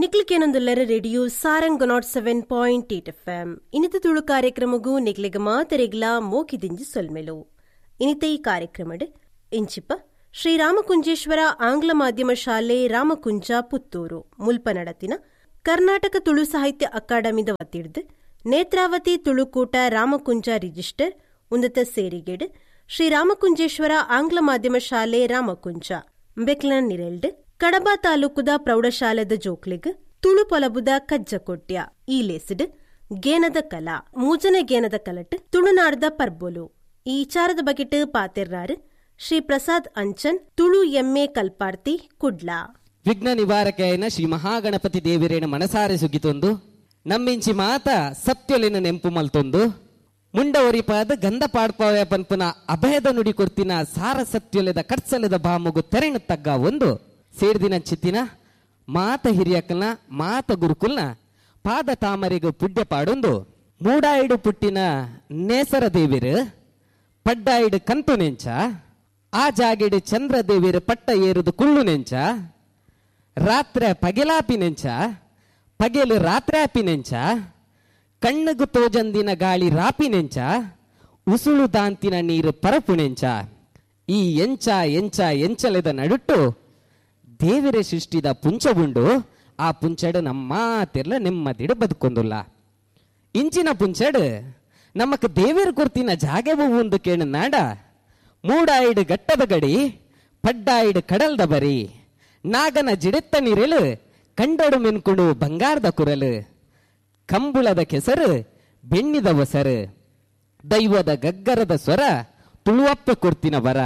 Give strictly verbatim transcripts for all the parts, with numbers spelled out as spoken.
ನಿಕ್ಲಿಕೇನೊಂದುಲ್ಲರ radio Sarang nought seven point eight F M ಇನಿತ ತುಳು ಕಾರ್ಯಕ್ರಮಗೂ ನಿಕ್ಲಿಗ ಮಾತರೆಗ್ಲ ಮೋಕಿದಿಂಜಿ ಸೊಲ್ಮೆಲು. ಇನಿತ ಈ ಕಾರ್ಯಕ್ರಮಡ್ ಇಂಚಿಪ ಶ್ರೀ ರಾಮಕುಂಜೇಶ್ವರ ಆಂಗ್ಲ ಮಾಧ್ಯಮ ಶಾಲೆ ರಾಮಕುಂಜ ಪುತ್ತೂರು ಮುಲ್ಪ ನಡತಿನ ಕರ್ನಾಟಕ ತುಳು ಸಾಹಿತ್ಯ ಅಕಾಡೆಮಿದ ವತಿಡ್ದು ನೇತ್ರಾವತಿ ತುಳುಕೂಟ ರಾಮಕುಂಜ ರಿಜಿಸ್ಟರ್ ಉನ್ನತ ಸೇರಿಗೆಡ್ ಶ್ರೀ ರಾಮಕುಂಜೇಶ್ವರ ಆಂಗ್ಲ ಮಾಧ್ಯಮ ಶಾಲೆ ರಾಮಕುಂಜ ಬೆಕ್ಲನ್ ನಿರೆಲ್ಡ್ ಕಡಬ ತಾಲೂಕುದ ಪ್ರೌಢಶಾಲೆದ ಜೋಕ್ಲಿಗ್ ತುಳು ಪೊಲಬುದ ಕಜ್ಜಕೊಟ್ಯ ಈ ಲೇಸಿಡ್ ಗೇನದ ಕಲಾ ಮೂಜನ ಗೇನದ ಕಲಟ್ ತುಳುನಾಡ್ದ ಪರ್ಬೊಲು ಈ ವಿಚಾರದ ಬಗೆಟ್ ಪಾತೆರ್ನಾರು ಶ್ರೀ ಪ್ರಸಾದ್ ಅಂಚನ್ ತುಳು ಎಮ್ಮೆ ಕಲ್ಪಾರ್ತಿ ಕುಡ್ಲ. ವಿಘ್ನ ನಿವಾರಕೆಯನ ಶ್ರೀ ಮಹಾಗಣಪತಿ ದೇವಿರೇನ ಮನಸಾರೆ ಸುಗಿತೊಂದು ನಮ್ಮಿಂಚಿ ಮಾತ ಸತ್ಯೊಲಿನ ನೆಂಪು ಮಲ್ತೊಂದು ಮುಂಡ ಒರಿಪಾದ ಗಂಧ ಪಾಡ್ಪಾವೆ ಪನ್ಪುನ ಅಭಯದ ನುಡಿ ಕೊರ್ತಿನ ಸಾರ ಸತ್ಯೊಲೆದ ಕಟ್ಸಲೆದ ಬಾಮುಗು ತೆರೆಣ ತಗ್ಗ ಒಂದು ಸೇರ್ದಿನ ಚಿತ್ತಿನ ಮಾತ ಹಿರಿಯಕಲ್ನ ಮಾತ ಗುರುಕುಲ್ನ ಪಾದ ತಾಮರಿಗು ಪುಡ್ಯ ಪಾಡೊಂದು ಮೂಡಾಯಿಡು ಪುಟ್ಟಿನ ನೇಸರ ದೇವಿರು ಪಡ್ಡಾಯಿಡು ಕಂತು ನೆಂಚ ಆ ಜಾಗೆಡು ಚಂದ್ರ ದೇವಿರು ಪಟ್ಟ ಏರುದು ಕುಳ್ಳು ನೆಂಚ ರಾತ್ರೆ ಪಗೆಲಾಪಿ ನೆಂಚ ಪಗೆಲು ರಾತ್ರೆ ಆಪಿ ನೆಂಚ ಕಣ್ಣುಗು ತೋಜಂದಿನ ಗಾಳಿ ರಾಪಿ ನೆಂಚ ಉಸುಳು ದಾಂತಿನ ನೀರು ಪರಪು ನೆಂಚ ಈ ಎಂಚ ಎಂಚ ಎಂಚಲೆದ ನಡುಟ್ಟು ದೇವರೇ ಸೃಷ್ಟಿದ ಪುಂಚ ಉಂಡು ಆ ಪುಂಚಡು ನಮ್ಮ ತಿರ್ಲ ನೆಮ್ಮದಿಡು ಬದುಕೊಂದುಲ್ಲ. ಇಂಚಿನ ಪುಂಚಡು ನಮಕ್ ದೇವಿರ ಕೊರ್ತಿನ ಜಾಗೆ ಒಂದು ಕೇಳು ನಾಡ ಮೂಡಾಯಿಡು ಗಟ್ಟದ ಗಡಿ ಪಡ್ಡಾಯಿಡು ಕಡಲ್ದ ಬರಿ ನಾಗನ ಜಿಡೆತ್ತ ನೀರೆಲು ಕಂಡಡು ಮೆನ್ಕೊಂಡು ಬಂಗಾರದ ಕುರಲು ಕಂಬುಳದ ಕೆಸರು ಬೆಣ್ಣಿದ ಒಸರು ದೈವದ ಗಗ್ಗರದ ಸ್ವರ ತುಳುವಪ್ಪೆ ಕೊರ್ತಿನ ವರ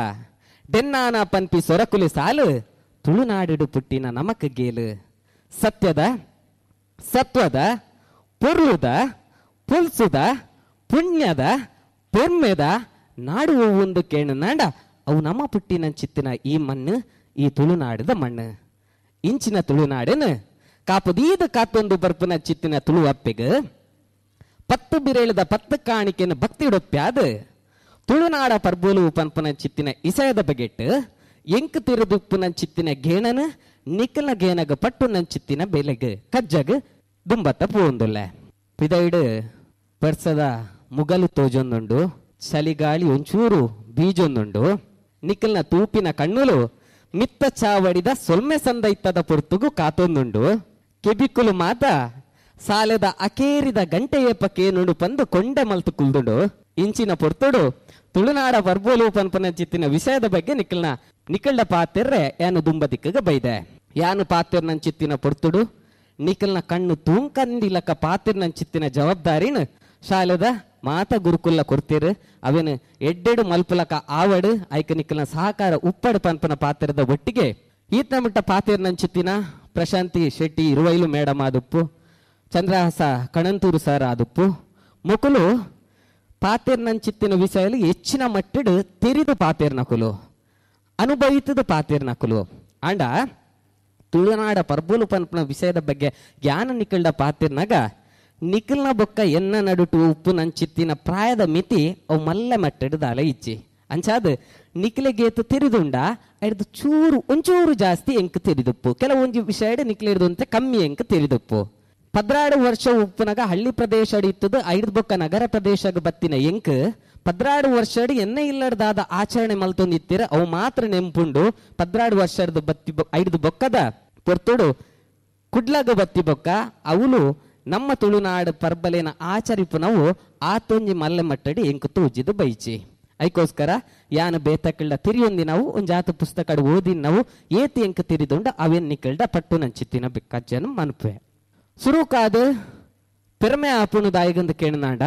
ಡೆನ್ನಾನ ಪನ್ಪಿ ಸೊರಕುಲಿ ಸಾಲು ತುಳುನಾಡಿಡು ಪುಟ್ಟಿನ ನಮಕ್ ಗೇಲು ಸತ್ಯದ ಸತ್ವದ ಪೊರ್ಲುದ ಪುಲ್ಸುದ ಪುಣ್ಯದ ಪೊರ್ಮೆದ ನಾಡು ಒಂದು ಕೇಳು ನಾಡ ಅವು ನಮ್ಮ ಪುಟ್ಟಿನ ಚಿತ್ತಿನ ಈ ಮಣ್ಣು ಈ ತುಳುನಾಡಿದ ಮಣ್ಣು. ಇಂಚಿನ ತುಳುನಾಡೇನು ಕಾಪುದೀದ ಕಾತೊಂದು ಬರ್ಪುನ ಚಿತ್ತಿನ ತುಳುವಪ್ಪೆಗ್ ಪತ್ತು ಬಿರೇಳದ ಪತ್ತು ಕಾಣಿಕೆಯನ್ನು ಭಕ್ತಿಡೊಪ್ಪ್ಯಾದ ತುಳುನಾಡ ಪರ್ಬೋಲು ಪನ್ಪುನ ಚಿತ್ತಿನ ಇಸಯದ ಬಗೆಟ್ಟು ಎಂಕ್ ತಿರುದುಪ್ಪುನ ಚಿತ್ತಿನ ಗೇಣನ ನಿಕ್ಕಲ ಗೇನಗ ಪಟ್ಟು ನನ್ ಚಿತ್ತಿನ ಬೆಲೆಗ್ ಕಜ್ಜಗ್ ದುಂಬತ್ತ ಪೂಂದುಲ್ಲ. ಪಿದೈಡು ಪರ್ಸದ ಮುಗಲು ತೋಜೊಂದುಂಡು ಚಳಿಗಾಳಿ ಒಂಚೂರು ಬೀಜೊಂದುಂಡು ನಿಕ್ಕಲ್ನ ತೂಪಿನ ಕಣ್ಣುಲು ಮಿತ್ತ ಚಾವಡಿದ ಸೊಲ್ಮೆ ಸಂದ ಇತ್ತದ ಪೊರ್ತುಗು ಕಾತೊಂದುಂಡು ಕೆಬಿಕುಲು ಮಾತ ಸಾಲೆದ ಅಕೇರಿದ ಗಂಟೆಯೇಪ ಕೇನುಂಡು ಪಂದು ಕೊಂಡೆ ಮಲ್ತು ಕುಲ್ದುಂಡು. ಇಂಚಿನ ಪೊರ್ತುಡು ತುಳುನಾಡ ಪರ್ಬೋಲು ಪನ್ಪನ ಚಿತ್ತಿನ ವಿಷಯದ ಬಗ್ಗೆ ನಿಕ್ಕಲ್ನ ನಿಕ್ಕಲ್ಡ ಪಾತೆರ್ರೆ ಯಾನು ದುಂಬ ದಿಕ್ಕಗ ಬೈದೆ. ಯಾನು ಪಾತೆರ್ ನನ್ ಚಿತ್ತಿನ ಪೊರ್ತುಡು ನಿಕ್ಕಲ್ನ ಕಣ್ಣು ತೂಂಕಂದಿಲಕ್ಕ ಪಾತೆರ್ ನನ್ ಚಿತ್ತಿನ ಜವಾಬ್ದಾರಿನ ಶಾಲೆದ ಮಾತ ಗುರುಕುಲ್ಲ ಕೊರ್ತೀರು ಅವೇನು ಎಡ್ಡೆಡು ಮಲ್ಪುಲಕ ಆವಡು ಐಕ ನಿಕ್ಕಲ್ನ ಸಹಕಾರ ಉಪ್ಪಡು ಪನ್ಪನ ಪಾತ್ರದ ಒಟ್ಟಿಗೆ ಈತನ ಮುಟ್ಟ ಪಾತೆರ್ ನನ್ ಚಿತ್ತಿನ ಪ್ರಶಾಂತಿ ಶೆಟ್ಟಿ ಇರುವೈಲು ಮೇಡಮ್ ಆದುಪ್ಪು ಚಂದ್ರಹಾಸ ಕಣಂತೂರು ಸರ್ ಆದುಪ್ಪು ಮುಕುಲು ಪಾತೆರ್ ನನ್ ಚಿತ್ತಿನ ವಿಷಯಲು ಹೆಚ್ಚಿನ ಮಟ್ಟಡು ತೆರಿದು ಪಾತೆರ್ ನಕುಲು ಅನುಭವಿತದ ಪಾತೆರ್ ನಕುಲು. ಆಂಡ ತುಳುನಾಡ ಪರ್ಬೋಲು ಪನ್ಪನ ವಿಷಯದ ಬಗ್ಗೆ ಜ್ಞಾನ ನಿಕ್ಕಲ್ಡ ಪಾತೆರ್ನಾಗ ನಿಖಲ್ನ ಬೊಕ್ಕ ಎನ್ನ ನಡುಟು ಉಪ್ಪು ನಂಚಿತ್ತಿನ ಪ್ರಾಯದ ಮಿತಿ ಅವು ಮಲ್ಲ ಮಟ್ಟಡು ದಾಲ ಇಚ್ಚಿ ಅಂಚಾದ ನಿಕ್ಲೆಗೇತು ತೆರಿದುಂಡ ಐಡ್ದು ಚೂರು ಒಂಚೂರು ಜಾಸ್ತಿ ಎಂಕ್ ತೆರಿದುಪ್ಪು ಕೆಲವೊಂಜಿ ವಿಷಯ ನಿಕ್ಲೆ ಅಂತೆ ಕಮ್ಮಿ ಎಂಕ್ ತೆರಿದುಪ್ಪು. ಪದ್ರಾಡು ವರ್ಷ ಉಪ್ಪುನಗ ಹಳ್ಳಿ ಪ್ರದೇಶ ಇತ್ತದು ಐದು ಬೊಕ್ಕ ನಗರ ಪ್ರದೇಶಕ್ಕೆ ಬತ್ತಿನ ಎಂಕ್ ಪದ್ರಾಡು ವರ್ಷ ಎನ್ನ ಇಲ್ಲಡ್ದಾದ ಆಚರಣೆ ಮಲ್ತೊಂದಿತ್ತೀರ ಅವು ಮಾತ್ರ ನೆಂಪುಂಡು. ಪದ್ರಾಡು ವರ್ಷದ ಬತ್ತಿ ಐದು ಬೊಕ್ಕದ ಪೊರ್ತುಡು ಕುಡ್ಲಗ ಬತ್ತಿ ಬೊಕ್ಕ ಅವಳು ನಮ್ಮ ತುಳುನಾಡು ಪರ್ಬಲೇನ ಆಚರಿಪು ನಾವು ಆತೊಂಜಿ ಮಲ್ಲೆ ಮಟ್ಟಡಿ ಎಂಕು ತೂಜಿದು ಬೈಚಿ. ಐಕೋಸ್ಕರ ಯಾನು ಬೇತಕ್ಕಳ್ಳ ತಿರಿಯೊಂದಿ ನಾವು ಒಂಜಾತ ಪುಸ್ತಕ ಓದಿ ನಾವು ಏತಿ ಎಂಕ ತಿರಿದುಂಡ ಅವೇನ್ ನಿಕ್ಕಳ್ಡ ಪಟ್ಟು ನಂಚಿತ್ತಿನ ಕಜ್ಜನ ಮನ್ಪೆ ಸುರುಕಾದ ಪೆರ್ಮೆ ಆಪುಣು ದಾಯಿಗಂದು ಕೇಣನಾಂಡ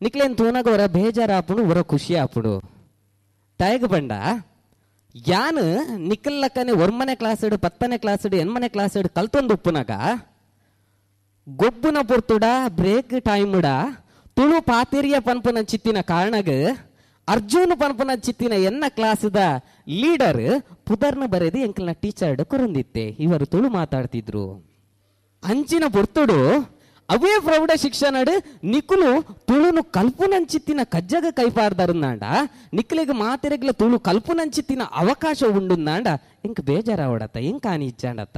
ನಿಕ್ಲೇನ್ ತೂನಗ ಹೊರ ಬೇಜಾರ ಆಪುಣು ಹೊರ ಖುಷಿ ಆಪುಣು ತಾಯಿಗ ಬಂಡ ಯಾನು ನಿಕ್ಕಲ್ಲಕ್ಕನೆ ಒರ್ಮನೆ ಕ್ಲಾಸ್ ಇಡು ಪತ್ತನೇ ಕ್ಲಾಸ್ ಇಡು ಎನ್ಮನೆ ಕ್ಲಾಸ್ ಇಡು ಕಲ್ತೊಂದು ಉಪ್ಪುನಾಗ ಗೊಬ್ಬುನ ಪೊರ್ತುಡ ಬ್ರೇಕ್ ಟೈಮ್ಡ ತುಳು ಪಾತೆರಿಯ ಪನ್ಪುನ ಚಿತ್ತಿನ ಕಾರಣಗ ಅರ್ಜುನ್ ಪನ್ಪುನ ಚಿತ್ತಿನ ಎನ್ನ ಕ್ಲಾಸ್ದ ಲೀಡರ್ ಪುದರ್ನ ಬರೆದು ಎಂಕಲ್ನ ಟೀಚರ್ ಕೊರಂದಿತ್ತೆ ಇವರು ತುಳು ಮಾತಾಡ್ತಿದ್ರು. ಅಂಚಿನ ಪೊರ್ತುಡು ಅವೇ ಪ್ರೌಢ ಶಿಕ್ಷಣಡು ನಿಕುಲು ತುಳುನು ಕಲ್ಪುನಂಚಿತ್ತಿನ ಕಜ್ಜಗ ಕೈಪಾರ್ದರುಂದಾಂಡ ನಿಕ್ಲೆಗ್ ಮಾತೆರೆಗ್ಲ ತುಳು ಕಲ್ಪುನಂಚಿತ್ತಿನ ಅವಕಾಶ ಉಂಡುಂದಾಂಡ ಎಂಕ್ ಬೇಜಾರಾವಡತ್ತ ಎಂಕ್ ಆನಿ ಇಚ್ಚಾಂಡತ್ತ.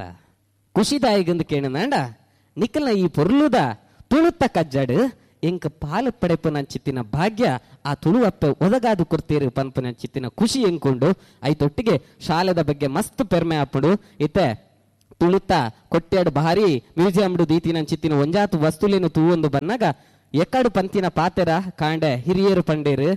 ಖುಷಿದಾಯಿಗಂದು ಕೇಣನಾಂಡ ನಿಕ್ಕಲ್ನ ಈ ಪೊರ್ಲುದ ತುಳುತ್ತ ಕಜ್ಜಾಡು ಎಂಕ ಪಾಲು ಪಡೆಪುನಂಚಿತ್ತಿನ ಭಾಗ್ಯ ಆ ತುಳುವಪ್ಪೆ ಒದಗಾದು ಕೊಡ್ತೀರು ಪನ್ಪುನಂಚಿತ್ತಿನ ಖುಷಿ ಎಂಕೊಂಡು ಐತೊಟ್ಟಿಗೆ ಶಾಲೆದ ಬಗ್ಗೆ ಮಸ್ತ್ ಪೆರ್ಮೆ ಆಪುಂಡು. ಇತ್ತೆ ತುಳುತ್ತ ಕೊಟ್ಯಾಡು ಭಾರಿ ಮ್ಯೂಸಿಯಂ ದೀತಿನಂಚಿತ್ತಿನ ಒಂಜಾತು ವಸ್ತುಲೇನು ತೂವೊಂದು ಬನ್ನಾಗ ಎಕ್ಕಡು ಪಂತಿನ ಪಾತೆರ ಕಾಂಡೆ ಹಿರಿಯರು ಪಂಡೇರು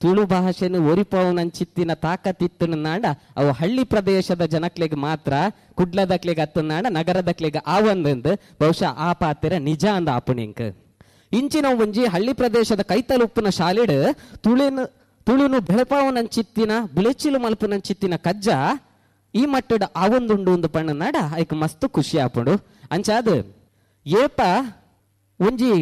ತುಳು ಭಾಷೆನು ಒರಿಪವನಂಚಿತ್ತಿನ ತಾಕತ್ತಿತ್ತು ನಾಡ ಅವು ಹಳ್ಳಿ ಪ್ರದೇಶದ ಜನಕ್ಲೆಗ್ ಮಾತ್ರ, ಕುಡ್ಲದಕ್ಲೆಗ್ ಅತ್ತನಾಡ ನಗರದಕ್ಲೆಗ್ ಆ ಒಂದಂದು ಬಹುಶಃ ಆ ಪಾತೆರ ನಿಜ ಅಂದ ಆಪುಣಿಂಕ್. ಇಂಚಿನ ಒಂಜಿ ಹಳ್ಳಿ ಪ್ರದೇಶದ ಕೈತಲುಪ್ಪುನ ಶಾಲೆಡ್ ತುಳಿನ ತುಳುನು ಬೆಳಪಾವನಂಚಿತ್ತಿನ ಬುಲೆಚಿಲು ಮಲ್ಪುನಂಚಿತ್ತಿನ ಕಜ್ಜ ಈ ಮಟ್ಟದ ಆ ಒಂದುಂಡು ಒಂದು ಪಣ್ಣನಾಡ ಐಕ್ ಮಸ್ತ್ ಖುಷಿ ಆಪುಂಡು. ಅಂಚಾದ ಏಪ ಒಂಜಿ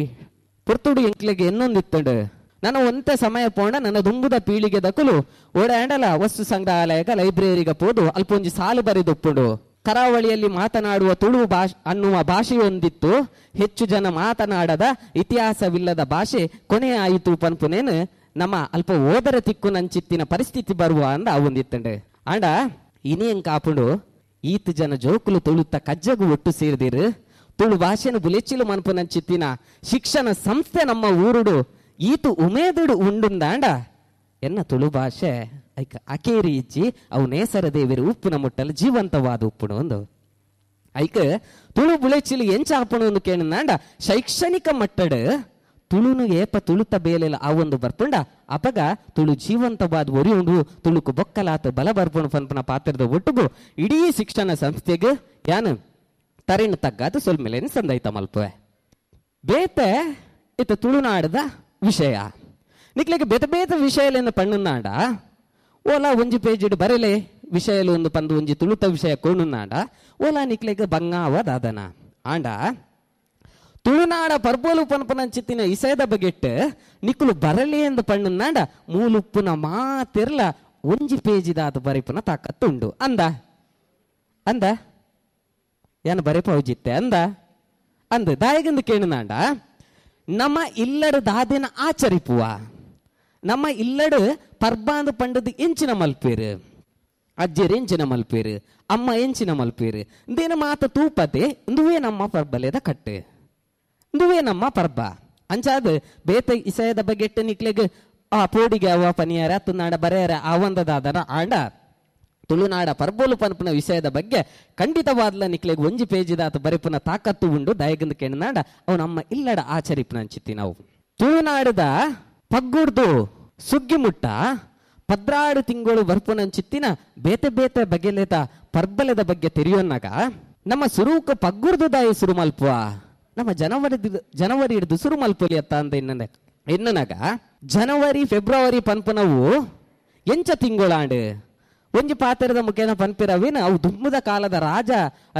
ಪೊರ್ತುಡು ಎಂಕ್ಲೆಗ್ ಎನ್ನೊಂದಿತ್ತಂಡು ನನ್ನ ಒಂತೆ ಸಮಯ ಪೋಂಡ ನನ್ನ ದುಂಬುದ ಪೀಳಿಗೆ ದಕುಲು ಓಡಾಂಡಲ ವಸ್ತು ಸಂಗ್ರಹಾಲಯಗ ಲೈಬ್ರರಿಗ ಪೋದು ಅಲ್ಪ ಒಂಜಿ ಸಾಲು ಬರೆದೊಪ್ಪುಂಡು. ಕರಾವಳಿಯಲ್ಲಿ ಮಾತನಾಡುವ ತುಳು ಭಾಷೆ ಅನ್ನುವ ಭಾಷೆಯೊಂದಿತ್ತು, ಹೆಚ್ಚು ಜನ ಮಾತನಾಡದ ಇತಿಹಾಸವಿಲ್ಲದ ಭಾಷೆ ಕೊನೆ ಆಯಿತು ಪನ್ಪುನೇನು ನಮ್ಮ ಅಲ್ಪ ಓದರ ತಿಕ್ಕು ನಂಚಿತ್ತಿನ ಪರಿಸ್ಥಿತಿ ಬರುವ ಅಂದ ಅವೊಂದಿತ್ತಂಡು. ಆಂಡ ಇನಿ ಕಾಪುಂಡು ಈತ ಜನ ಜೋಕುಲು ತುಳುತ್ತ ಕಜ್ಜಗು ಒಟ್ಟು ಸೇರಿದಿರು ತುಳು ಭಾಷೆನು ಬುಲೆಚಿಲು ಮನ್ಪುನಂಚಿತ್ತಿನ ಶಿಕ್ಷಣ ಸಂಸ್ಥೆ ನಮ್ಮ ಊರುಡು ಈತು ಉಮೇದುಡು ಉಂಡುಂದಾಂಡ ಎನ್ನ ತುಳು ಭಾಷೆ ಐಕ ಅಕೇರಿ ಇಜ್ಜಿ ಅವು ನೇಸರ ದೇವಿರು ಉಪ್ಪುನ ಮುಟ್ಟಲು ಜೀವಂತವಾದ ಉಪ್ಪುನು ಒಂದು ಐಕ ತುಳು ಬುಳೆಚಿಲು ಎಂಚ ಆಪುಣು ಒಂದು ಕೇಳಿದಾಂಡ ಶೈಕ್ಷಣಿಕ ಮಟ್ಟಡು ತುಳುನು ಏಪ ತುಳುತ ಬೇಲೆಲ್ಲ ಆ ಒಂದು ಬರ್ಪುಂಡ ಅಪಗ ತುಳು ಜೀವಂತವಾದ ಒರಿ ಉಂಡು ತುಳುಕು ಬೊಕ್ಕಲಾತ ಬಲ ಬರ್ಪುಣು ಪನ್ಪುನ ಪಾತ್ರದ ಒಟ್ಟುಗು ಇಡೀ ಶಿಕ್ಷಣ ಸಂಸ್ಥೆಗೆ ಯಾನು ತರಿನ ತಗ್ಗಾದ ಸೊಲ್ಮೆಲೇನು ಸಂದೈತ ಮಲ್ಪುವೆ. ಬೇತೆ ಇತ್ತ ತುಳುನಾಡದ ವಿಷಯ ನಿಕ್ಲೆಗ್ ಬೇತೆ ಬೇತೆ ವಿಷಯಲೇನು ಪಣ್ಣುನಾಡ ಓಲಾ ಒಂಜಿ ಪೇಜಿಡ್ ಬರೆಲೆ ವಿಷಯಲು ಒಂದು ಪಂದು ಒಂಜಿ ತುಳುತ ವಿಷಯ ಕೋಣುನಾಡ ಓಲಾ ನಿಕ್ಲೆಗ್ ಬಂಗಾವ ದಾದನ. ಆಂಡ ತುಳುನಾಡ ಪರ್ಬೋಲು ಪನ್ಪನಂಚಿತ್ತಿನ ಇಸಯದ ಬಗೆಟ್ ನಿಕ್ಕುಲು ಬರಲಿ ಎಂದು ಪಣ್ಣುನಾಡ ಮೂಲುಪ್ಪುನ ಮಾತಿರ್ಲ ಒಂಜಿ ಪೇಜಿದಾದ ಬರೆಪುನ ತಾಕತ್ತುಂಡು ಅಂದ ಅಂದ ಏನು ಬರೆಪೌಜಿತ್ತೆ ಅಂದ ಅಂದ ದಾಯಗಂದು ಕೇಳುನಾಂಡ ನಮ್ಮ ಇಲ್ಲಡು ದಾದಿನ ಆಚರಿಪುವ ನಮ್ಮ ಇಲ್ಲಡು ಪರ್ಬಾಂದು ಪಂಡದು ಎಂಚಿನ ಮಲ್ಪೇರು ಅಜ್ಜರು ಎಂಚಿನ ಮಲ್ಪೇರು ಅಮ್ಮ ಎಂಚಿನ ಮಲ್ಪೇರು ಇಂದೇನ ಮಾತ ತೂಪತೆ ಇಂದುವೇ ನಮ್ಮ ಪರ್ಬಲೇದ ಕಟ್ಟು ಇಂದುವೇ ನಮ್ಮ ಪರ್ಬ. ಅಂಚಾದ ಬೇತ ಇಸಯದ ಬಗೆಟ್ಟ ನಿಕ್ಲೆಗ್ ಆ ಪೋಡಿಗೆ ಅವ ಪನಿಯಾರ ತುನಾಡ ಬರೆಯರ ಆವಂದದಾದನ ಆಂಡ ತುಳುನಾಡ ಪರ್ಬೋಲು ಪನ್ಪುನ ವಿಷಯದ ಬಗ್ಗೆ ಖಂಡಿತವಾದ್ಲ ನಿಕ್ಲೆಗ್ ಒಂಜಿ ಪೇಜಿದಾತ ಬರೆಪುನ ತಾಕತ್ತು ಉಂಡು ದಯಗಂದು ಕೆಣನಾಡ ಅವು ನಮ್ಮ ಇಲ್ಲಡ ಆಚರಿಪುನ ಅಂಚಿತ್ತಿ ನಾವು. ತುಳುನಾಡದ ಪಗ್ಗುಡ್ದು ಸುಗ್ಗಿ ಮುಟ್ಟ ಪದ್ರಾಡು ತಿಂಗಳು ಬರ್ಪುನಂಚಿತ್ತಿನ ಬೇತೆ ಬೇತೆ ಬಗೆಲೆದ ಪರ್ಬಲದ ಬಗ್ಗೆ ತೆರಿಯೋನ್ನಾಗ ನಮ್ಮ ಸುರುಕ ಪಗ್ಗುರ್ದು ದಾಯಿ ಸುರು ಮಲ್ಪುವ ನಮ್ಮ ಜನವರಿ ಜನವರಿ ಹಿಡಿದು ಸುರು ಮಲ್ಪುಲಿ ಅತ್ತ ಅಂತ ಎನ್ನ ಎನ್ನನಾಗ ಜನವರಿ ಫೆಬ್ರವರಿ ಪನ್ಪುನವು ಎಂಚ ತಿಂಗಳಾಂಡು ಒಂಜಿ ಪಾತ್ರದ ಮುಖೇನ ಪನ್ಪಿರವೇನ ಅವು ದುಮ್ಮದ ಕಾಲದ ರಾಜ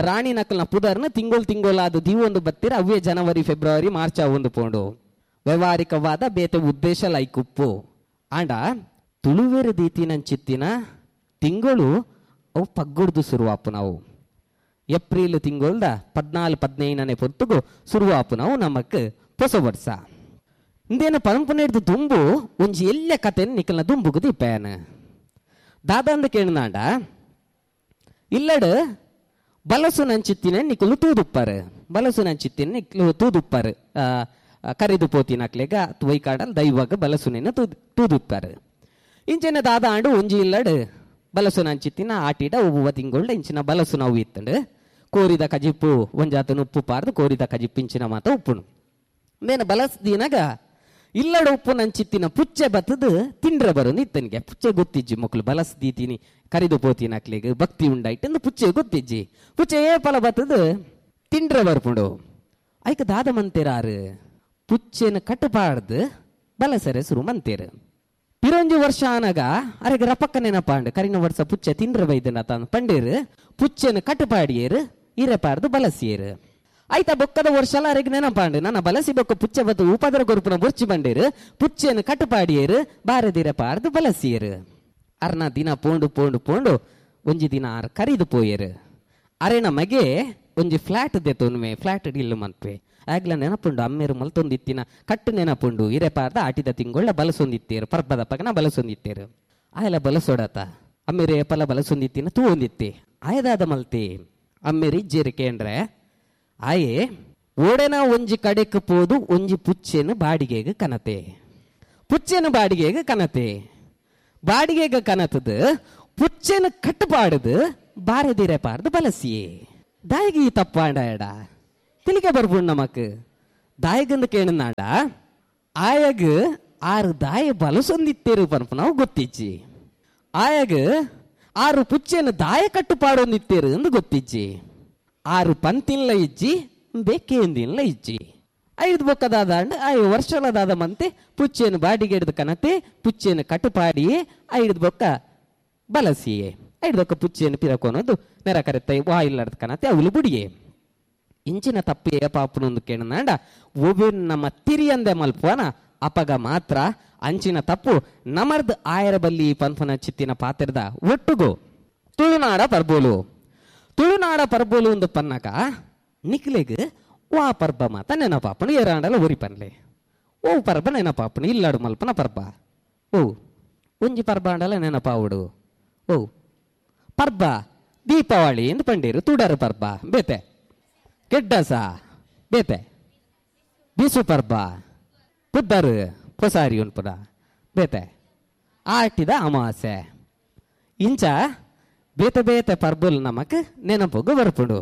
ರಾಣಿ ನಕಲ್ನ ಪುದರ್ನ ತಿಂಗಳು ತಿಂಗಳಾದ ದೀವೊಂದು ಬತ್ತಿರ ಅವೇ ಜನವರಿ ಫೆಬ್ರವರಿ ಮಾರ್ಚ್ ಒಂದು ಪೋಂಡು ವ್ಯವಹಾರಿಕವಾದ ಬೇತೆ ಉದ್ದೇಶ ಲೈಕುಪ್ಪು. ಆಂಡ ತುಳುವೆರ ದೀತಿನಂಚಿತ್ತಿನ ತಿಂಗಳು ಅವು ಪಗ್ಗುಡ್ದು ಸುರುವಾಪು ನಾವು ಏಪ್ರಿಲ್ ತಿಂಗಳ್ದ ಪದ್ನಾಲ್ಕು ಪದ್ನೈದನೇ ಪೊತ್ತುಗು ಸುರುವಾಪು ನಾವು ನಮಕ್ ಹೊಸ ವರ್ಷ. ಇಂದೇನು ಪರಂಪನೆ ಹಿಡ್ದು ದುಂಬು ಒಂಜಿ ಎಲ್ಲ ಕತೆ ನಿಕಲ್ನ ದುಂಬುಗು ದೀಪೇನ ದಾದಂದ ಕೇಳಿನಾಂಡ ಇಲ್ಲಡು ಬಲಸು ನಂಚಿತ್ತಿನ ನಿಕಲು ತೂದುಪ್ಪಾರು ಬಲಸು ನಂಚಿತ್ತಿನ ನಿಕ್ಲು ತೂದುಪ್ಪಾರು ಕರಿದು ಪೋತಿನಕ್ಲೆಗ ವೈಕಾಡಲ್ ದೈವಾಗ ಬಲಸುನೇನ ತೂದು ತೂದುಪ್ಪಾರು. ಇಂಚಿನ ದಾದ ಆಂಡು ಒಂಜಿ ಇಲ್ಲಡು ಬಲಸು ನಂಚಿತ್ತಿನ ಆಟಿಡ ಒಬ್ಬ ತಿಂಗಳ ಇಂಚಿನ ಬಲಸು ನಾವು ಇತ್ತಂಡು ಕೋರಿದ ಕಜಿಪ್ಪು ಒಂಜಾತನ ಉಪ್ಪು ಪಾರ್ದು ಕೋರಿದ ಕಜಿಪ್ಪು ಇಂಚಿನ ಮಾತ ಉಪ್ಪುನು ಮೇನ ಬಲಸ್ದಿನಾಗ ಇಲ್ಲಡ ಉಪ್ಪು ನಂಚಿತ್ತಿನ ಪುಚ್ಚೆ ಬತ್ತದು ತಿಂಡ್ರೆ ಬರೋನು ಇತ್ತನಿಗೆ ಪುಚ್ಚೆ ಗೊತ್ತಿಜ್ಜಿ ಮಕ್ಕಳು ಬಲಸ್ದೀತೀನಿ ಕರಿದು ಪೋತಿನ ಅಕ್ಲಿಗೆ ಭಕ್ತಿ ಉಂಡಾಯ್ತು ಪುಚ್ಚೆ ಗೊತ್ತಿಜ್ಜಿ ಪುಚ್ಚೆ ಏ ಫಲ ಬತ್ತದು ತಿಂಡ್ರೆ ಬರ್ಪುಂಡು ಐಕ ದಾದ ಮಂತೇರಾರು ಪುಚ್ಚೆನ ಕಟ್ಟಪಾಡ್ದು ಬಲಸರೆ ಸುರು ಮಂತೇರು. ಪಿರೊಂಜಿ ವರ್ಷ ಆನಾಗ ಅರೆಗೆ ರಪಕ್ಕ ನೆನಪಾಂಡು ಕರಿನ ವರ್ಷ ಪುಚ್ಚೆ ತಿಂಡ್ರೆ ಬೈದನ ತಾನು ಪಂಡೇರು ಪುಚ್ಚೆನ ಕಟ್ಟಪಾಡಿಯೇರು ಇರೆಪಾರ್ದು ಬಲಸಿಯೇರು. ಆಯ್ತಾ ಬೊಕ್ಕದ ವರ್ಷಲ ಅರೆಗೆ ನೆನಪಾಂಡು ನನ್ನ ಬಲಸಿ ಬೊಕ್ಕ ಪುಚ್ಚೆ ಬತ್ತು ಉಪದ್ರ ಕೊರುಪುನ ಬೊರ್ಚಿ ಬಂಡೇರು ಪುಚ್ಚೆನ ಕಟ್ಟಪಾಡಿಯೇರು ಬಾರದಿರ ಪಾರ್ದು ಬಲಸಿಯೇರು. ಅರ್ನ ದಿನ ಪೋಂಡು ಪೋಂಡು ಪೋಂಡು ಒಂಜಿ ದಿನ ಆರ್ ಕರಿದು ಪೋಯೇರು. ಅರೆನ ಮಗೆ ಒಂಜಿ ಫ್ಲಾಟ್ ದೆತ್ತೊನ್ಮೆ ಫ್ಲಾಟ್ ಇಲ್ಲು ಮನ್ಪೆ ಆಗ್ಲ ನೆನಪುಂಡು ಅಮ್ಮೇರು ಮಲ್ತೊಂದಿತ್ತಿನ ಕಟ್ಟು ನೆನಪುಂಡು ಇರೆಪಾರ್ದ ಆಟಿದ ತಿಂಗೊಳ್ಳ ಬಲಸೊಂದಿತ್ತೇರು ಪರ್ಬದ ಪಗನ ಬಲಸೊಂದಿತ್ತೇರು ಆಯಲ ಬಲಸೊಡತ ಅಮ್ಮೇರು ಏಪಲ ಬಲಸೊಂದಿತ್ತಿನ ತೂ ಹೊಂದಿತ್ತೆ ಆಯದಾದ ಮಲ್ತೆ ಅಮ್ಮೇರಿ ಇಜ್ಜೇರು ಕೇಂದ್ರೆ ಆಯೆ ಓಡೆನ ಒಂಜಿ ಕಡೆಕ್ ಪೋದು ಒಂಜಿ ಪುಚ್ಚೆನು ಬಾಡಿಗೆಗೆ ಕನತೆ ಪುಚ್ಚೆನು ಬಾಡಿಗೆಗೆ ಕನತೆ ಬಾಡಿಗೆಗೆ ಕನತದ ಪುಚ್ಚೆನು ಕಟ್ಟುಪಾಡದು ಬಾರದಿರೆ ಪಾರ್ದು ಬಲಸಿಯೇ ದಾಯಿಗೆ ಈ ತಪ್ಪಾಂಡ ಎಡ ತಿಳಿಕೆ ಬರ್ಬುಂಡು ನಮಕ್ ದಾಯಿಗಂದು ಕೇಣನಾಡ ಆಯಗ್ ಆರು ದಾಯ ಬಲಸೊಂದಿತ್ತೇರು ಪನ್ಪು ನಾವು ಗೊತ್ತಿಜ್ಜಿ ಆಯಗ್ ಆರು ಪುಚ್ಚೆನು ದಾಯ ಕಟ್ಟುಪಾಡೊಂದಿತ್ತೇರು ಎಂದು ಗೊತ್ತಿಜ್ಜಿ ಆರು ಪಂತಿನ್ಲ ಇಜ್ಜಿ ಬೇಕೇಂದಿನ್ಲ ಇಜ್ಜಿ ಐದು ಬೊಕ್ಕದಾದ ಐದು ವರ್ಷಲದಾದ ಮಂತೆ ಪುಚ್ಚೆನು ಬಾಡಿಗೆ ಹಿಡಿದು ಕನತೆ ಪುಚ್ಚೆನು ಕಟ್ಟುಪಾಡಿಯೇ ಐದು ಬೊಕ್ಕ ಬಲಸಿಯೇ ಐದು ಬೊಕ್ಕ ಪುಚ್ಚೆನು ಪಿರಕೋನದು ನೆರ ಕರೆತ ವಾಯಿಲ್ಲದ ಕನತೆ ಅವಳು ಬುಡಿಯೇ ಇಂಚಿನ ತಪ್ಪು ಪಾಪುನೊಂದು ಕೇಣನಾಂಡ ಒಬೆನ್ ನಮ್ಮ ತಿರಿಯಂದೆ ಮಲ್ಪುವನ ಅಪಗ ಮಾತ್ರ ಅಂಚಿನ ತಪ್ಪು ನಮರ್ದ್ ಆಯರ ಬಲ್ಲಿ ಪನ್ಪನ ಚಿತ್ತಿನ ಪಾತ್ರದ ಒಟ್ಟುಗು ತುಳುನಾಡ ಪರ್ಬೋಲು ತುಳುನಾಡ ಪರ್ಬೋಲು ಒಂದು ಪನ್ನಕ ನಿಕ್ಲೆಗ್ ವಾ ಪರ್ಬ ಮಾತ ನೆನಪಾಪನು ಏರಾಂಡಲ ಒರಿ ಪನ್ಲೆ ಓ ಪರ್ಬ ನೆನಪಾಪನು ಇಲ್ಲಾಡು ಮಲ್ಪನ ಪರ್ಬ ಓ ಒಂಜಿ ಪರ್ಬ ಅಂಡಲ ನೆನಪಾವುಡು ಓ ಪರ್ಬ ದೀಪಾವಳಿ ಎಂದು ಪಂಡೀರು ತುಡರು ಪರ್ಬ ಬೇತೆ ಕೆಡ್ಡಸ ಬೇತೆ ಬಿಸು ಪರ್ಬ ಪುದ್ದರು ಪೊಸಾರಿ ಉನ್ಪುನ ಬೇತೆ ಆಟಿದ ಅಮಾವಾಸ್ಯೆ ಇಂಚ ಬೇತೆ ಬೇತೆ ಪರ್ಬಲ್ ನಮಕ್ ನೆನಪುಗು ಬರ್ಪುಂಡು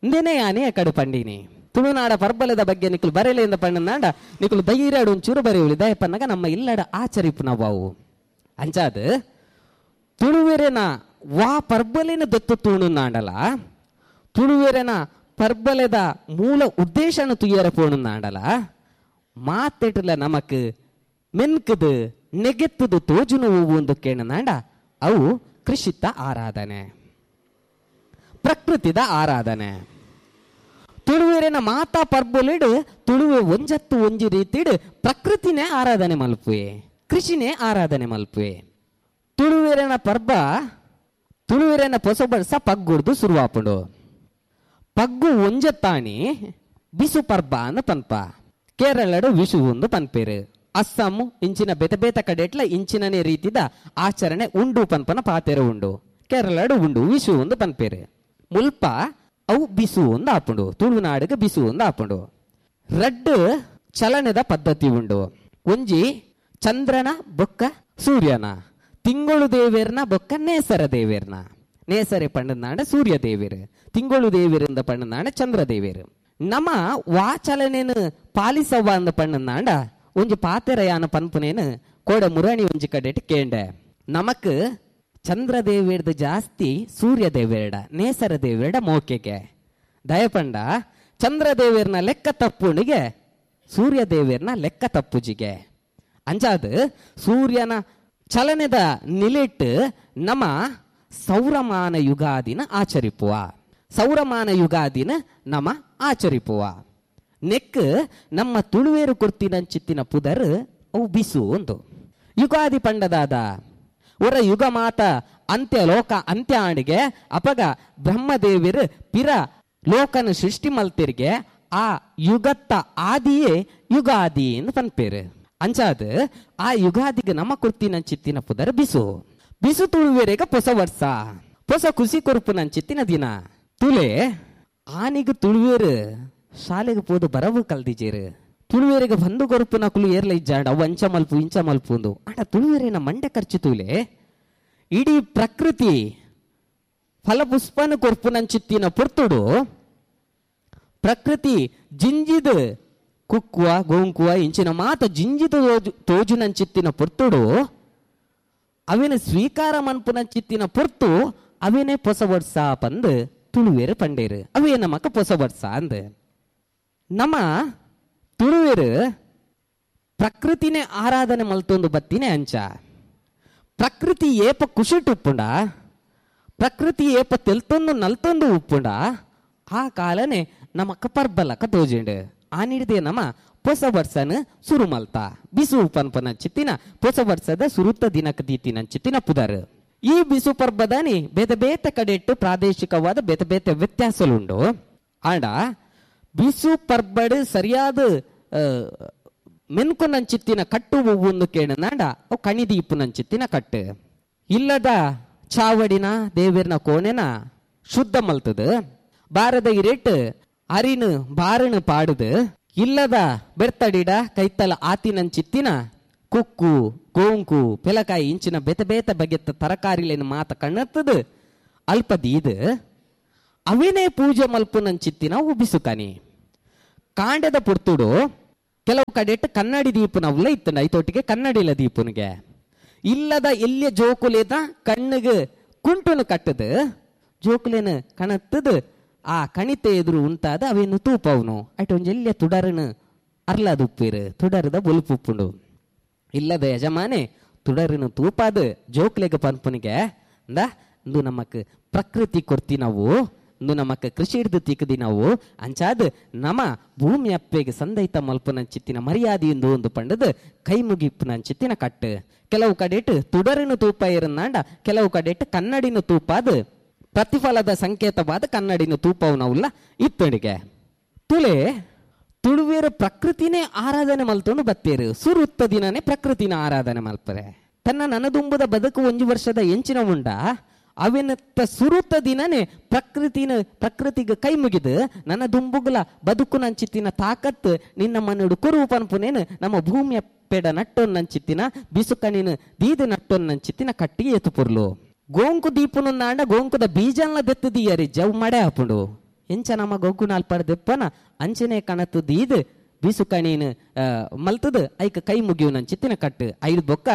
ಇಂದೇನೆ ಯಾನೇ ಕಡು ಪಂಡಿನಿ ತುಳುನಾಡ ಪರ್ಬಲದ ಬಗ್ಗೆ ನಿಕುಲು ಬರೆಲೆಯಿಂದ ಪಣ್ಣನಾಡ ನಿಕುಲು ಧೈರ್ಯಡು ಒಂಚೂರು ಬರೆಯುಳಿ ದಯಪನ್ನಗ ನಮ್ಮ ಇಲ್ಲಡ ಆಚರಿಪು ನಾವು ಅಂಚಾದ ತುಳುವೆರೆನ ವಾ ಪರ್ಬಲಿನ ದತ್ತು ತೂಣುನಾಡಲ ತುಳುವೆರೆನ ಪರ್ಬಲೆದ ಮೂಲ ಉದ್ದೇಶನ ತುಯ್ಯರ ಪೋಣುನಾಡಲ ಮಾತೆಟ್ಲ ನಮಕ್ ಮೆನ್ಕದು ನೆಗೆತ್ತದು ತೋಜುನು ಒಂದು ಕೇಣನಾಂಡ ಅವು ಕೃಷಿತ ಆರಾಧನೆ ಪ್ರಕೃತಿದ ಆರಾಧನೆ ತುಳುವೆರೆನ ಮಾತಾ ಪರ್ಬೊಲಿಡು ತುಳುವೆ ಒಂಜತ್ತು ಒಂಜಿ ರೀತಿಡು ಪ್ರಕೃತಿನೇ ಆರಾಧನೆ ಮಲ್ಪುವೆ ಕೃಷಿನೇ ಆರಾಧನೆ ಮಲ್ಪುವೆ ತುಳುವೆರೆನ ಪರ್ಬ ತುಳುವೆರೆನ ಪೊಸ ಬರ್ಸ ಪಗ್ಗುಡ್ದು ಶುರುವಾಪುಂಡು ಪಗ್ಗು ಒಂಜತ್ತಾಣಿ ಬಿಸು ಪರ್ಬ ಅಂದ್ ಪನ್ಪ ಕೇರಳಡು ವಿಷು ಒಂದು ಪನ್ಪೇರು ಅಸ್ಸಾಮು ಇಂಚಿನ ಬೇತೆ ಬೇತೆ ಕಡೆಟ್ಲ ಇಂಚಿನನೇ ರೀತಿದ ಆಚರಣೆ ಉಂಡು ಪನ್ಪನ ಪಾತೆರ ಉಂಡು ಕೇರಳಡು ಉಂಡು ವಿಷು ಒಂದು ಪನ್ಪೇರು ಮುಲ್ಪ ಅವು ಬಿಸು ಒಂದು ಆಪುಂಡು ತುಳುನಾಡಿಗೆ ಬಿಸು ಒಂದು ಆಪುಂಡು ರಡ್ಡು ಚಲನೆದ ಪದ್ಧತಿ ಉಂಡು ಒಂಜಿ ಚಂದ್ರನ ಬೊಕ್ಕ ಸೂರ್ಯನ ತಿಂಗಳು ದೇವೇರ್ನ ಬೊಕ್ಕ ನೇಸರ ದೇವೇರ್ನ ನೇಸರೆ ಪಂಡನಾಡ ಸೂರ್ಯ ದೇವೇರು ತಿಂಗಳು ದೇವೇರಿಂದ ಪಂಡನಾಡ ಚಂದ್ರ ದೇವೇರು ನಮ್ಮ ವಾಚಲನೇನು ಪಾಲಿಸವ್ವ ಅಂದ ಪಣ್ಣನಾಂಡ ಒಂಜಿ ಪಾತೆರಯಾನ ಪನ್ಪುನೇನು ಕೋಡ ಮುರಣಿ ಒಂಜಿ ಕಡೆಟ್ ಕೇಂಡೆ ನಮಕ್ ಚಂದ್ರ ದೇವೇರ್ದ ಜಾಸ್ತಿ ಸೂರ್ಯ ದೇವೇರ್ಡ ನೇಸರ ದೇವೇರ್ಡ ಮೋಕೆಗೆ ದಯಪಂಡ ಚಂದ್ರ ದೇವೇರ್ನ ಲೆಕ್ಕ ತಪ್ಪುಣಿಗೆ ಸೂರ್ಯ ದೇವೇರ್ನ ಲೆಕ್ಕ ತಪ್ಪುಜಿಗೆ ಅಂಚಾದ ಸೂರ್ಯನ ಚಲನೆದ ನಿಲೆಟ್ಟು ನಮ್ಮ ಸೌರಮಾನ ಯುಗಾದಿನ ಆಚರಿಪುವ ಸೌರಮಾನ ಯುಗಾದಿನ ನಮ್ಮ ಆಚರಿಪುವ ನೆಕ್ ನಮ್ಮ ತುಳುವೇರು ಕೊರ್ತಿನಂಚಿತ್ತಿನ ಪುದರ್ ಅವು ಬಿಸು ಒಂದು ಯುಗಾದಿ ಪಂಡದಾದ ಒರ ಯುಗ ಮಾತ ಅಂತ್ಯ ಲೋಕ ಅಂತ್ಯ ಆಣಿಗೆ ಅಪಗ ಬ್ರಹ್ಮದೇವಿರು ಪಿರ ಲೋಕನ ಸೃಷ್ಟಿ ಮಲ್ತಿರ್ಗೆ ಆ ಯುಗತ್ತ ಆದಿಯೇ ಯುಗಾದಿ ಎಂದು ಪನ್ಪೇರು ಅಂಚಾದ ಆ ಯುಗಾದಿಗೆ ನಮ್ಮ ಕೊರ್ತಿನಂಚಿತ್ತಿನ ಪುದರ್ ಬಿಸು ಬಿಸು ತುಳುವೇರೆಗ ಹೊಸ ವರ್ಷ ಹೊಸ ಖುಷಿ ಕೊರ್ಪುನಂಚಿತ್ತಿನ ದಿನ ತುಲೆ ಆನಿಗೆ ತುಳುವೇರು ಶಾಲೆಗೆ ಪೋದು ಬರವು ಕಲ್ದಿಜೇರು ತುಳುವೇರಿಗೆ ಬಂದು ಕೊರುಪುನ ಕುಲು ಏರ್ಲ ಇಜ್ಜಾಂಡ ಅವು ಅಂಚ ಮಲ್ಪು ಇಂಚ ಮಲ್ಪು ಅಂದು ಆಂಡ ತುಳುವೇರಿನ ಮಂಡೆ ಖರ್ಚು ತೂಲೆ ಇಡೀ ಪ್ರಕೃತಿ ಫಲಪುಷ್ಪನ ಕೊರ್ಪುನಂಚಿತ್ತಿನ ಪೊರ್ತುಡು ಪ್ರಕೃತಿ ಜಿಂಜಿದ ಕುಕ್ಕುವ ಗೋಂಕುವ ಇಂಚಿನ ಮಾತ ಜಿಂಜಿದ ತೋಜುನಂಚಿತ್ತಿನ ಪೊರ್ತುಡು ಅವಿನ ಸ್ವೀಕಾರ ಮನ್ಪುನಂಚಿತ್ತಿನ ಪೊರ್ತು ಅವಿನೇ ಪೊಸ ವರ್ಷ ಪಂದು ತುಳುವೇರು ಪಂಡೇರು ಅವೇ ನಮಕ ಪೊಸ ವರ್ಷ ಅಂದ್ ನಮ್ಮ ತುಳುವೇರು ಪ್ರಕೃತಿನೇ ಆರಾಧನೆ ಮಲ್ತೊಂದು ಬತ್ತಿನೇ ಅಂಚ ಪ್ರಕೃತಿ ಏಪ ಕುಶಿಟ್ ಉಪ್ಪುಂಡ ಪ್ರಕೃತಿ ಏಪ ತೆಲ್ತೊಂದು ನಲ್ತೊಂದು ಉಪ್ಪುಂಡ ಆ ಕಾಲನೆ ನಮಕ ಪರ್ಬಲಕ ತೋಜಿಂಡು ಆ ನೀಡಿದೆ ನಮ್ಮ ಹೊಸ ವರ್ಷನ ಸುರು ಮಲ್ತ ಬಿಸು ಪನ್ಪನ ಚಿತ್ತಿನ ಹೊಸ ವರ್ಷದ ಸುರುತ್ತ ದಿನಕ ದೀತಿನ ಚಿತ್ತಿನ ಪುದರ್ ಈ ಬಿಸು ಪರ್ಬದಾನಿ ಬೇತೆ ಬೇತೆ ಕಡೆ ಇಟ್ಟು ಪ್ರಾದೇಶಿಕವಾದ ಬೇತೆ ಬೇತೆ ವ್ಯತ್ಯಾಸಲುಂಡು ಆಂಡ ಬಿಸು ಪರ್ಬಡು ಸರಿಯಾದ ಮೆನ್ಕುನಂಚಿತ್ತಿನ ಕಟ್ಟು ಒಂದು ಕೇಣನಾಂಡ ಅವು ಕಣಿದೀಪುನಂಚಿತ್ತಿನ ಕಟ್ಟು ಇಲ್ಲದ ಚಾವಡಿನ ದೇವಿರ್ನ ಕೋಣೆನ ಶುದ್ಧ ಮಲ್ತದ ಬಾರದ ಇರೇಟ್ ಅರಿನು ಬಾರನು ಪಾಡುದು ಇಲ್ಲದ ಬೆರ್ತಡಿಡ ಕೈತಲ ಆತಿನಂಚಿತ್ತಿನ ಕುಕ್ಕು ಗೋಂಕು ಪೆಲಕಾಯಿ ಇಂಚಿನ ಬೇತೆ ಬೇತೆ ಬಗೆತ್ತ ತರಕಾರಿಲೇನು ಮಾತ ಕಣ್ಣತ್ತದ ಅಲ್ಪ ದೀದ್ ಅವೇನೇ ಪೂಜೆ ಮಲ್ಪುನಂಚಿತ್ತಿನ ಉಬಿಸುಕಾನಿ. ಕಾಂಡದ ಪುರ್ತುಡು ಕೆಲವು ಕಡೆಟ್ ಕನ್ನಡಿ ದೀಪನವ್ಲ ಇತ್ತು ಐತೊಟ್ಟಿಗೆ ಕನ್ನಡಿಲ ದೀಪನಿಗೆ ಇಲ್ಲದ ಎಲ್ಲಿಯ ಜೋಕುಲೇದ ಕಣ್ಣಿಗೆ ಕುಂಟುನು ಕಟ್ಟದು ಜೋಕುಲೇನು ಕಣತ್ತದು ಆ ಕಣಿತೆ ಎದುರು ಉಂಟಾದ ಅವೇನು ತೂಪವನು ಐಟ ಒಂಜಿ ಎಲ್ಲಿಯ ತುಡರನು ಅರ್ಲಾದ ಉಪ್ಪಿರು ತುಡರದ ಬೊಲ್ಪು ಉಪ್ಪುಂಡು. ಇಲ್ಲದ ಯಜಮಾನೆ ತುಡರನು ತೂಪಾದ ಜೋಕ್ಲೆಗ ಪನ್ಪುನಿಗೆ ಅಂದ ಇಂದು ನಮಕ್ ಪ್ರಕೃತಿ ಕೊರ್ತಿ ನಾವು ಇಂದು ನಮಕ್ ಕೃಷಿ ಹಿಡ್ದು ತಿಕ್ಕದಿ ನಾವು ಅಂಚಾದ ನಮ ಭೂಮಿ ಅಪ್ಪೆಗೆ ಸಂದೈತ ಮಲ್ಪುನಂಚಿತ್ತಿನ ಮರ್ಯಾದೆ ಎಂದು ಒಂದು ಪಂಡದ ಕೈ ಮುಗಿಪ್ಪುನಂಚಿತ್ತಿನ ಕಟ್ಟು. ಕೆಲವು ಕಡೆಟ್ ತುಡರನು ತೂಪ ಇರನ್ನಾಂಡ ಕೆಲವು ಕಡೆಟ್ ಕನ್ನಡಿನ ತೂಪಾದ ಪ್ರತಿಫಲದ ಸಂಕೇತವಾದ ಕನ್ನಡಿನ ತೂಪವನವುಲ್ಲ ಇತ್ತಡಿಗೆ. ತುಲೆ ತುಳುವೇರು ಪ್ರಕೃತಿನೇ ಆರಾಧನೆ ಮಲ್ತೊಂಡು ಬತ್ತೇರು ಸುರುತ್ತ ದಿನನೇ ಪ್ರಕೃತಿನ ಆರಾಧನೆ ಮಲ್ಪರೆ. ತನ್ನ ನನದುಂಬುದ ಬದುಕು ಒಂಜಿ ವರ್ಷದ ಎಂಚಿನ ಉಂಡ ಅವೆನತ್ತ ಸುರುತ್ತ ದಿನನೇ ಪ್ರಕೃತಿನ ಪ್ರಕೃತಿಗೆ ಕೈ ಮುಗಿದು ನನ್ನ ದುಂಬುಗುಲ ಬದುಕು ನಂಚಿತ್ತಿನ ತಾಕತ್ತು ನಿನ್ನ ಮನಡು ಕುರು ಪನ್ಪುನೇನು ನಮ್ಮ ಭೂಮಿಯ ಪೆಡ ನಟ್ಟೊನ್ನಂಚಿತ್ತಿನ ಬಿಸುಕಣಿನ ದೀದ ನಟ್ಟೊನ್ನಂಚಿತ್ತಿನ ಕಟ್ಟಿಗೆ ಎತ್ತು ಪೊರ್ಲು. ಗೋಂಕು ದೀಪುನಂದಾಂಡ ಗೋಂಕುದ ಬೀಜನ್ಲ ದೆತ್ತು ದೀಯರಿ ಜವ್ ಮಡೆ ಹಾಪುಂಡು ಎಂಚ ನಮ್ಮ ಗೋಂಕು ನಾಲ್ಪಡ ದೆಪ್ಪನ ಅಂಚನೆ ಕಣತ್ತು ದೀದ್ ಬಿಸುಕಣಿನ ಮಲ್ತದ ಐಕ ಕೈ ಮುಗಿಯುನಂಚಿತ್ತಿನ ಕಟ್ಟು. ಐದು ಬೊಕ್ಕ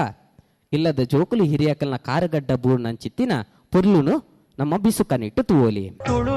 ಇಲ್ಲದ ಜೋಕುಲು ಹಿರಿಯಕಲ್ನ ಕಾರಗಡ್ಡ ಬೂರ್ನಂಚಿತ್ತಿನ ಪೊರ್ಲುನು ನಮ್ಮ ಬಿಸುಕನಿಟ್ಟು ತೂವಲಿ. ತುಳು